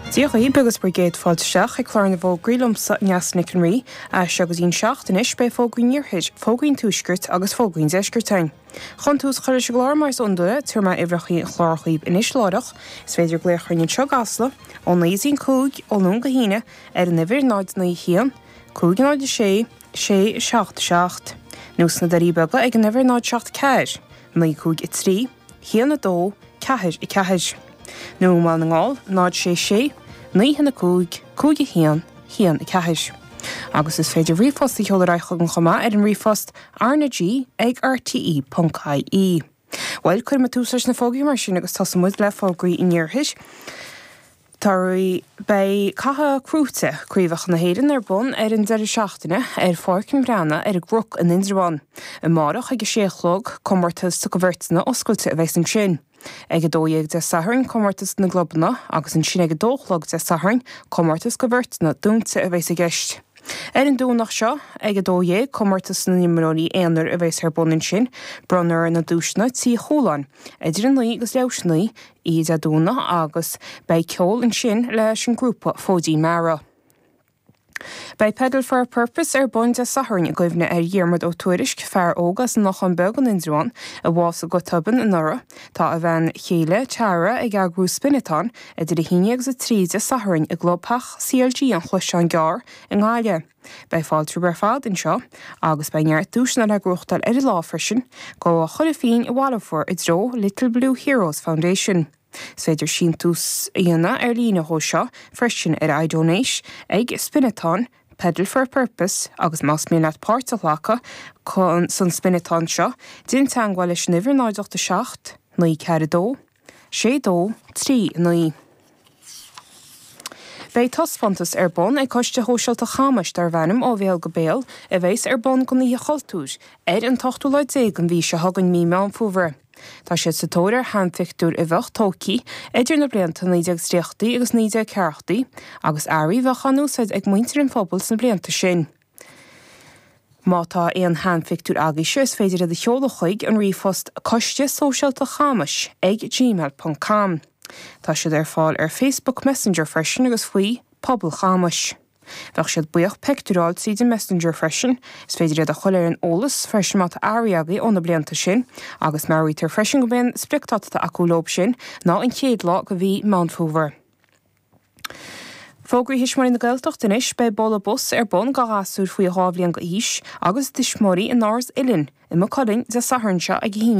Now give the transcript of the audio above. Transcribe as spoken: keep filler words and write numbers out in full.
Dia dhaoibh agus bhur gcéad fáilte isteach ag clár na bhfógraí liomsa Neasa Nic an Rí, as seo go dtí'n seacht anois beidh fógraí an iarthair, fógraí an tuaiscirt agus fógraí an deiscirt againn. Chun tús a chur leis an gclár mar is iondúil, tabharfaidh mé uimhreacha an chláir dhaoibh anois láithreach, is féidir glaoch orainn anseo i gCasla ó naoi go dtí'n cúig ó Luan go hAoine ar an uimhir náid naoi haon, cúig náid a sé, sé seacht seacht, nó sna Doirí Beaga ag an uimhir náid seacht ceathair, naoi cúig a trí, haon a dó, ceathair a ceathair. Nó i mBaile na nGall, náid sé sé, naoi haon a cúig, cúig a haon, haon a ceathair. Agus is féidir ríomhphost a sheoladh ar aghaidh chugainn chomh maith ar an ríomhphost rnag ag rte ponc ie. Bhuel, cuirfidh mé tús leis na fógraí mar sin agus tosóidh muid le fógraí an iarthair. Tá beidh Cath Crúite, Craobhacha na hÉireann ar bun ar an deireadh seachtaine ar Pháirc an Bhreathnaigh ar an gCnoc in Indreabhán. Amárach ag a sé a chlog, comórtas do bheirteanna oscailte a bheas ansin. Ag a dó dhéag Dé Sathairn, comórtas na gclubanna agus ansin ag a dó a chlog Dé Sathairn, comórtas do bheirteanna dúnta a bheas i gceist. Ar an Domhnach seo, ag a dó dhéag, comórtas na n-imreoirí aonair a bheas ar bun ansin, bronnfar na duaiseanna Tí Chualáin, idir a naoi agus leathuair tar éis a naoi, oíche Dé Domhnaigh agus beidh ceol ansin leis an grúpa Fóidín Meara. Beidh Pedal for a Purpose ar bun Dé Sathairn i gcuimhne ar Dhiarmuid Ó Tuairisc, fear óg as an Lochán Beag in Indreabhán, a bhásaigh go tobann anuraidh. Tá a bhean chéile Tara ag eagrú spin-a-thon idir a haon agus a trí Dé Sathairn i gclubtheach CLG an Chloicheáin Gearr i nGaillimh. Beidh fáilte ar fad anseo agus beidh neart duaiseanna le gnóthachtáil ar an lá freisin, go chuile phingin a bhaileofar i dtreo Little Blue Heroes Foundation. Is féidir síntiús a dhéanamh ar líne dhó seo freisin ar iDonate ag Spin-a-thon, Pedal for a Purpose agus más mian leat páirt a ghlacadh chun san spin-a-thon seo, déan teagmháil leis an uimhir náid ocht a seacht, naoi ceathair a dó, sé dó, trí naoi. Beidh taispeántas ar bun ag Coiste Shóisialta Chamais darb ainm ó bhéal go béal a bheas ar bun don Oíche Chultúir ar an t-ochtú lá déag den mhí seo chugainn mí Meán Fómhair. Tá siad sa tóir ar sheanphictiúir a bheadh tógtha idir na blianta naoi déag tríochaidí agus naoi déag ceathrachaidí agus earraí a bheadh á n-úsáid ag muintir an phobail sna blianta sin. Má tá aon sheanphictiúir agaibhse is féidir iad a sheoladh chuig an ríomhphost coiste sóisialta chamais ag gmail.com. Tá siad ar fáil ar Facebook Messenger freisin agus faoi Pobal Chamais. Bheadh siad buíoch pictiúir a fháil tríd an Messenger freisin, is féidir iad a chur ar an eolas freisin má tá earraí agaibh ó na blianta sin, agus meabhraítear freisin go mbíonn spriocdháta acu leo sin ná an chéad lá de mhí Meán Fómhair. Fógraí Thuismitheoirí na Gaeltachta anois beidh bualadh bos ar bun do ghasúir faoi dhá bhliain d'aois agus tuismitheoirí in Áras Uilinn i Maigh Cuilinn Dé Sathairn seo ag a haon